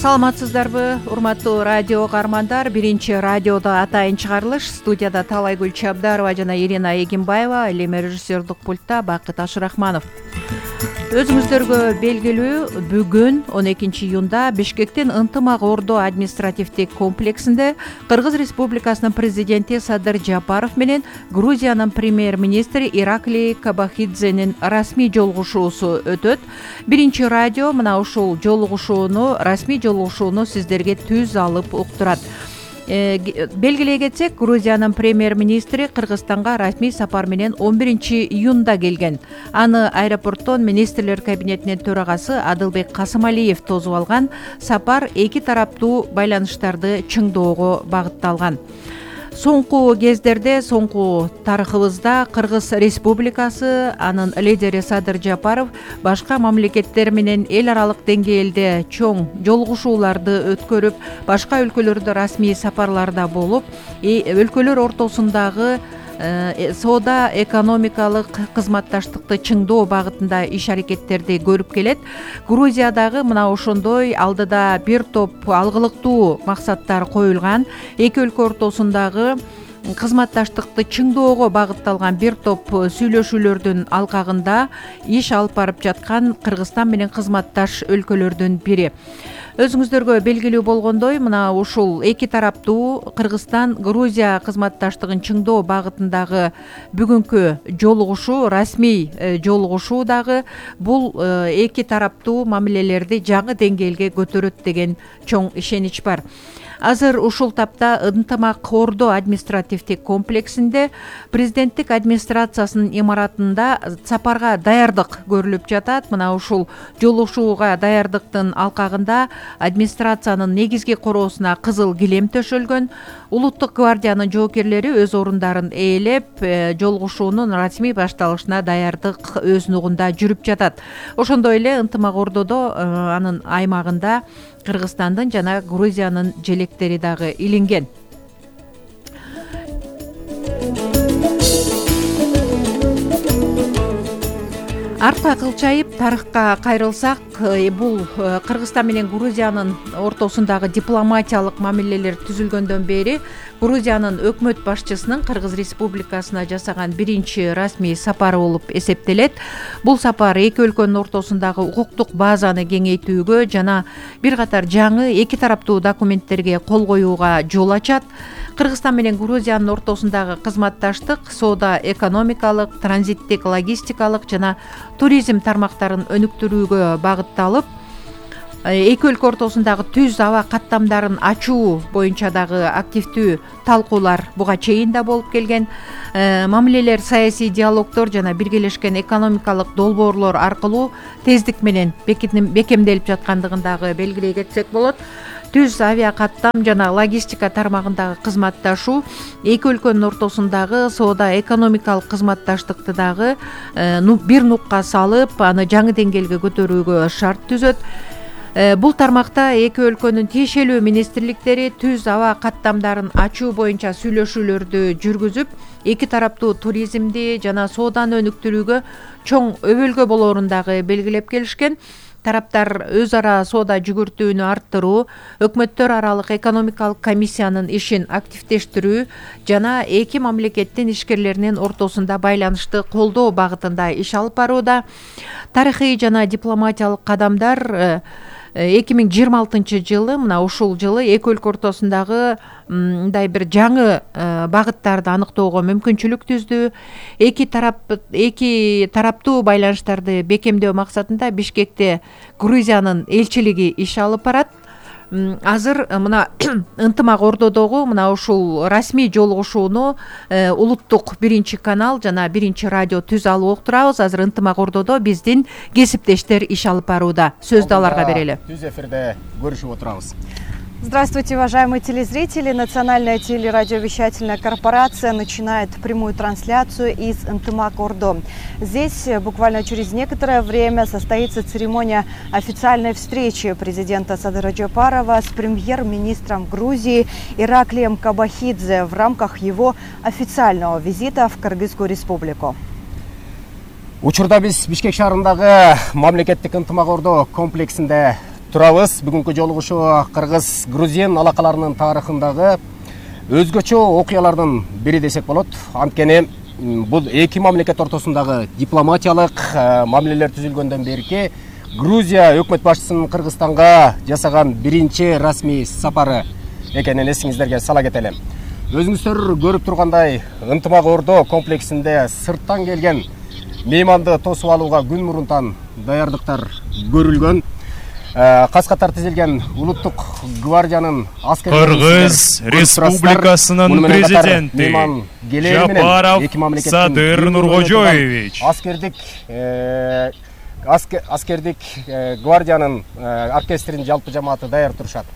Саламатсыздарбы, урматтуу радио каармандар. Биринчи радиодо атайын чыгарылыш. Студияда Талайгүл Чабдарова жана Ирина Эгимбаева, ал эми режиссердик пультта Бакыт Ашырахманов. Өзүңүздөргө белгилүү, бүгүн 12 июнда Бишкектин Ынтымак Ордо административдик комплексинде Кыргыз Республикасынын президенти Садыр Жапаров менен Грузиянын премьер-министри Ираклий Кобахидзенин расмий жолугушуусу өтөт. Биринчи радио мына ушул расмий жолугушууну сиздерге түз алып уктурат. Белгилей кетсек, Грузиянын премьер-министри Кыргызстанга расмий сапар менен 11 июнда келген. Аны аэропорттон министрлер кабинетинин төрагасы Адылбек Касымалиев тосуп алган. Сапар эки тараптуу байланыштарды чыңдоого багытталган. Соңку кездерде, соңку тарыхыбызда Кыргыз Республикасы, анын лидери Садыр Жапаров башка мамлекеттер менен эл аралык деңгээлде чоң жолугушууларды өткөрүп, башка өлкөлөрдө расмий сапарларда болуп, өлкөлөр ортосундагы соода экономикалык кызматташтыкты чыңдоо багытында иш аракеттерди көрүп келет. Грузиядагы мына ошондой алдыда бир топ алгылыктуу максаттар коюлган. Эки өлкө ортосундагы кызматташтыкты чыңдоого багытталган бир топ сүйлөшүүлөрдүн алкагында иш алып барып жаткан Кыргызстан менен кызматташ өлкөлөрдүн бири. Өзүңүздөргө белгилүү болгондой, мына ушул эки тараптуу Кыргызстан-Грузия кызматташтыгын чыңдоо багытындагы бүгүнкү жолугушуу, расмий жолугушуу дагы бул эки тараптуу мамилелерди жаңы деңгээлге көтөрөт деген чоң ишенич бар. Азыр ушул тапта Ынтымак Ордо административдик комплексинде президенттик администрациясынын имаратында сапарга даярдык көрүлүп жатат. Мына ушул жолугушууга даярдыктын алкагында администрациянын негизги короосуна кызыл килем төшөлгөн. Улуттук гвардиянын жоокерлери өз орундарын ээлеп, жолугушуунун расмий башталышына даярдык өз нугунда жүрүп жатат. Ошондой эле Ынтымак Ордодо анын аймагында Кыргызстандын жана Грузиянын желектери дагы илинген. Артка кылчайып тарыхка кайрылсак, бул Кыргызстан менен Грузиянын ортосундагы дипломатиялык мамилелер түзүлгөндөн бери Грузиянын өкмөт башчысынын Кыргыз Республикасына жасаган биринчи расмий сапары болуп эсептелет. Бул сапар эки өлкөнүн ортосундагы укуктук базаны кеңейтүүгө жана бир катар жаңы эки тараптуу документтерге кол коюуга жол ачат. Кыргызстан менен Грузиянын ортосундагы кызматташтык соода экономикалык, транзиттик, логистикалык жана туризм тармактарын өнүктүрүүгө багытталып, эки өлкө ортосундагы түз аба каттамдарын ачуу боюнча дагы активдүү талкуулар буга чейин да болуп келген. Мамилелер саясий диалогдор жана биргелешкен экономикалык долбоорлор аркылуу тездик менен бекемделип жаткандыгын дагы белгилей кетсек болот. Түз авиа каттам жана логистика тармагындагы кызматташуу эки өлкөнүн ортосундагы соода экономикалык кызматташтыкты дагы бир нукка салып, аны жаңы деңгээлге көтөрүүгө шарт түзөт. Бул тармакта эки өлкөнүн тиешелүү министрликтери түз аба каттамдарын ачуу боюнча сүйлөшүүлөрдү жүргүзүп, эки тараптуу туризмди жана сооданы өнүктүрүүгө чоң өбөлгө болоорун дагы белгилеп келишкен. Тараптар өз ара соода жүгүртүүнү арттыруу, өкмөттөр аралык экономикалык комиссиянын ишин активдештирүү жана эки мамлекеттин ишкерлеринин ортосунда байланышты колдоо багытында иш алып барууда. Тарыхый жана дипломатиялык кадамдар 2026 жылы, мына ушул жылы эки өлкө ортосундагы мындай бир жаңы багыттарды аныктоого мүмкүнчүлүк түздү. Эки тараптуу байланыштарды бекемдөө максатында Бишкекте Грузиянын элчилиги иш алып барат. Азыр мына Ынтымак Ордодогу мына ушул расмий жолугушууну улуттук биринчи канал жана биринчи радио түз алып уктурабыз. Азыр Ынтымак Ордодо биздин кесиптештер иш алып барууда. Сөздү аларга берели. Түз эфирде көрүшүп отурабыз. Здравствуйте, уважаемые телезрители. Национальная телерадиовещательная корпорация начинает прямую трансляцию из Ынтымак Ордо. Здесь буквально через некоторое время состоится церемония официальной встречи президента Садыра Жапарова с премьер-министром Грузии Ираклием Кобахидзе в рамках его официального визита в Кыргызскую республику. Учурда биз Бишкек шаарындагы мамлекеттик Ынтымак Ордо комплексинде турабыз. Бүгүнкү жолугушуу Кыргыз Грузин алакаларынын тарыхындагы өзгөчө окуялардын бири десек болот. Анткени бул эки мамлекет ортосундагы дипломатиялык мамилелер түзүлгөндөн берки Грузия өкмөт башчысынын Кыргызстанга жасаган биринчи расмий сапары экенин эсиңиздерге сала кетели. Өзүңүздөр көрүп тургандай, Ынтымак Ордо комплексинде сырттан келген мейманды тосуп алууга күн мурунтан даярдыктар көрүлгөн. Кас-катар тизилген улуттук гвардиянын аскерлери Кыргыз Республикасынын президенти Жапаров Садыр Нуркожоевич, аскердик гвардиянын оркестринин жалпы жамааты даяр турушат.